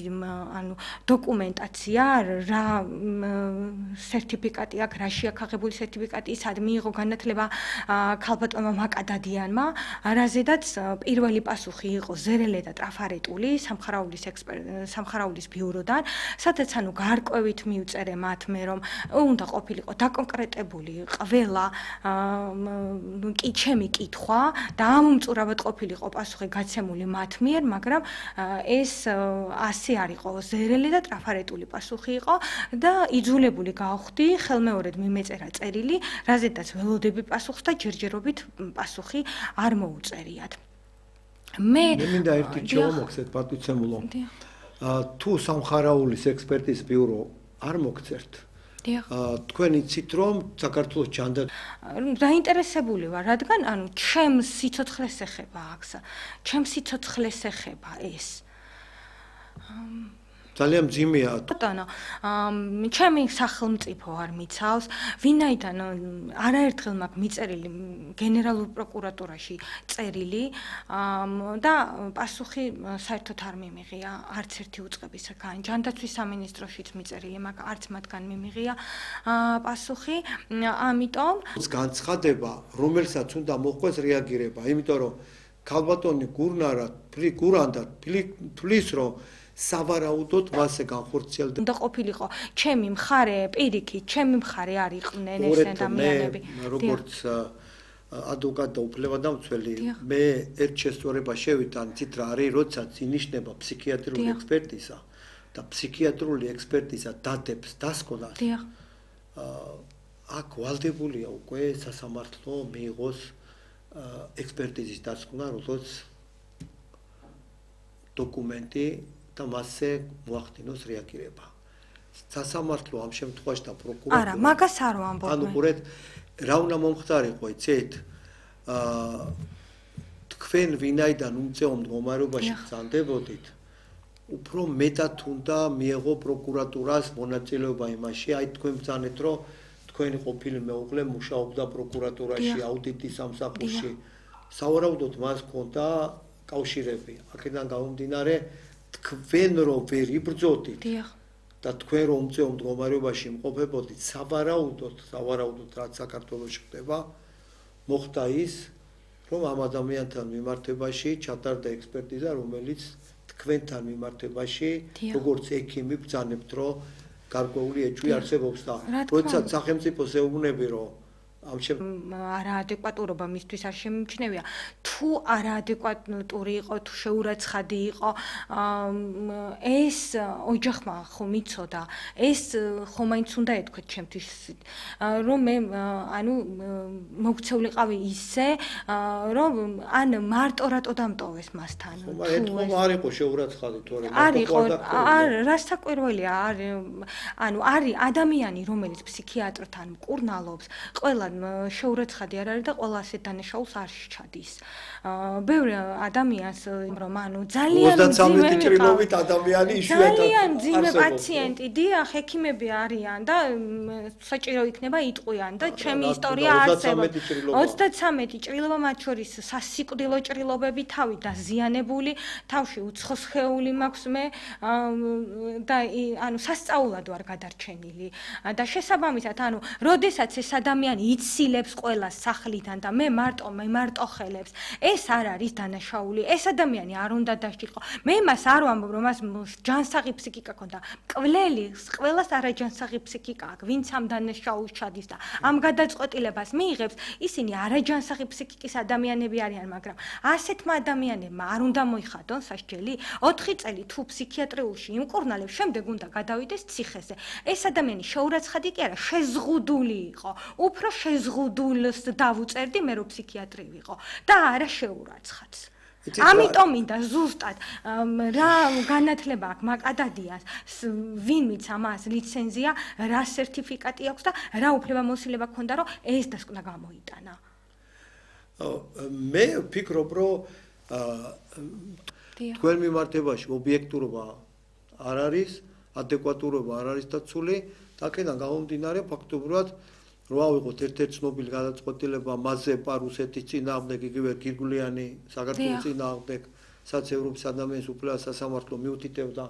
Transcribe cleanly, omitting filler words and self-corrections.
ანუ დოკუმენტაცია, რა სერტიფიკატი აქვს, რა შეაქაღებული სერტიფიკატი, სად მიიღო განათლება ქალბატონმა მაკადადიანმა, რაზედაც პირველი პასუხი იყო ზერელე და ტრაფარეტული სამხარაულის ბიუროდან, სადაც ანუ გარკვევით მიუწერე მათ მე რომ უნდა ყოფილიყო დაკონკრეტებული ყველა ჩემი კითხვა და ამომწურავად ყოფილიყო პასუხი გაცემული მათ მიერ, მაგრამ ეს ასე არ იყო, ზერელი და ტრაფარეტული პასუხი იყო და იძულებული გავხდი ხელმეორედ მიმეწერა წერილი, რაზედაც ველოდები პასუხს და ჯერჯერობით პასუხი არ მოუწერიათ. მე მინდა ერთი რჩევა მოგცეთ პატვიცემულო. თუ სამხარაულის ექსპერტის ბიურო არ მოგწერთ, თქვენ იცით რომ საქართველოს ჯანდაცვა დაინტერესებული ვარ, რადგან ანუ ჩემს სიცოცხლეს ეხება აქ, ჩემს სიცოცხლეს ეხება ეს. ძალიან მძიმეა. ბატონო, ჩემი სახელმწიფო არ მიცავს, ვინაიდან არაერთხელ მაქვს მიწერილი გენერალურ პროკურატურაში წერილი და პასუხი საერთოდ არ მიმიღია არც ერთი უწყებისგან. ჯანდაცვის სამინისტროშიც მიწერილი მაქვს, არც მათგან მიმიღია პასუხი. ამიტომ განცხადება, რომელსაც უნდა მოხდეს რეაგირება, იმიტომ რომ ქალბატონი გურანდა თulis რომ სავარაუდოდ მასზე განხორციელდა. უნდა ყოფილიყო ჩემი მხარე, პირიქით, ჩემი მხარე არ იყვნენ ეს ადამიანები. როგორც ადვოკატ და უფლებადამცველი, მე ერთ შესწორება შევიდა, იცით რა არის, როდესაც ინიშნება ფსიქიატრიული ექსპერტიზა და ფსიქიატრიული ექსპერტიზა დადებს დასკვნას. აქ ვალდებულია უკვე სასამართლო მიიღოს ექსპერტიზის დასკვნა, როგორც დოკუმენტი და მასზე მოახდინოს რეაგირება. სასამართლო ამ შემთხვევაში და პროკურატურა არა, მაგას არ ვამბობ. ანუ ყურეთ, რა უნდა მომხდარიყო, იცით? თქვენ ვინაიდან უმწეო მდგომარეობაში გრძანდებოდით, უფრო მეტად უნდა მიეღო პროკურატურას მონაწილეობა იმაში, აი თქვენ ბრძანეთ, რომ თქვენი ყოფილი მეუღლე მუშაობდა პროკურატურაში, აუდიტის სამსახურში. სავარაუდოდ მას ჰქონდა კავშირები. აქედან გამომდინარე, თქვენ რომ ვერ იბრძოდით და თქვენ რომ უმწეო მდგომარეობაში იმყოფებოდით, სავარაუდოდ რაც საქართველოში ხდება, მოხდა ის, რომ ამ ადამიანთან მიმართებაში ჩატარდა ექსპერტიზა, რომელიც თქვენთან მიმართებაში, როგორც ექიმი ბრძანებთ, რომ გარკვეული ეჭვი არსებობს და როდესაც სახელმწიფოს ეუბნები, რომ არაადეკვატურობა მისთვის არ შემიმჩნევია. თუ არაადეკვატური იყო, თუ შეურაცხადი იყო, ეს ოჯახმა ხომ იცოდა, ეს ხომ მაინც უნდა ეთქვეთ ჩემთვის, რომ მე ანუ მოქცეულიყავი ისე, რომ ან მარტო რატო დამტოვეს მასთან. თუ არ იყო შეურაცხადი თორე არ იყო, რა საკვირველია, ანუ არის ადამიანი, რომელიც ფსიქიატრთან მკურნალობს, ყველა შეურაცხადი არ არის და ყველა ასეთ დანაშაულს არ შეჩადის. ბევრი ადამიანს რომ ანუ ძალიან 33 ჭრილობით ადამიანი იშვიათად ძალიან მძიმე პაციენტი, დიახ, ექიმები არიან და საჭირო იქნება იტყვიან და ჩემი ისტორია არსებობს. 33 ჭრილობა, მათ შორის სასიკვდილო ჭრილობები, თავი დაზიანებული, თავში უცხო სხეული მაქვს მე და ანუ სასწაულად ვარ გადარჩენილი და შესაბამისად ანუ როდესაც ეს ადამიანი იცილებს ყველას სახლიდან და მე მარტო ხელებს. ეს არ არის დანაშაული. ეს ადამიანი არ უნდა დასჭირყო. მე მას არ ვამბობ, რომ მას ჯანსაღი ფსიქიკა ქონდა. მკვლელი ყველას არაჯანსაღი ფსიქიკა აქვს, ვინც ამ დანაშაულს ჩადის და ამ გადაწყვეტილებას მიიღებს, ისინი არაჯანსაღი ფსიქიკის ადამიანები არიან, მაგრამ ასეთმა ადამიანებმა არ უნდა მოიხადონ სასჯელი. 4 წელი თუ ფსიქიატრიულში იმკურნალებს, შემდეგ უნდა გადავიდეს ციხეზე. ეს ადამიანი შეურაცხადი კი არა, შეზღუდული იყო. უფრო შეზღუდულს დავუწერდი მე რომ ფსიქიატრი ვიყო და არა შეურაცხადს. ამიტომ მინდა ზუსტად რა განათლება აქვს მაკადადიანს, ვინ მიცემს ამას ლიცენზია, რა სერტიფიკატი აქვს და რა უფლებამოსილება ჰქონდა რომ ეს დასკვნა გამოიტანა. მე ვფიქრობ რომ თქვენ მიმართებაში ობიექტურობა არ არის, ადეკვატურობა არ არის დაცული და აქედან გამომდინარე ფაქტობრივად რომ ავიღოთ ერთ-ერთ ცნობილი გადაწყვეტილება მასზე პარუსეთის წინააღმდეგ, იგივე გირგვლიანი საქართველოს წინააღმდეგ, სადაც ევროპის ადამიანის უფლებათა სასამართლო მიუთითებდა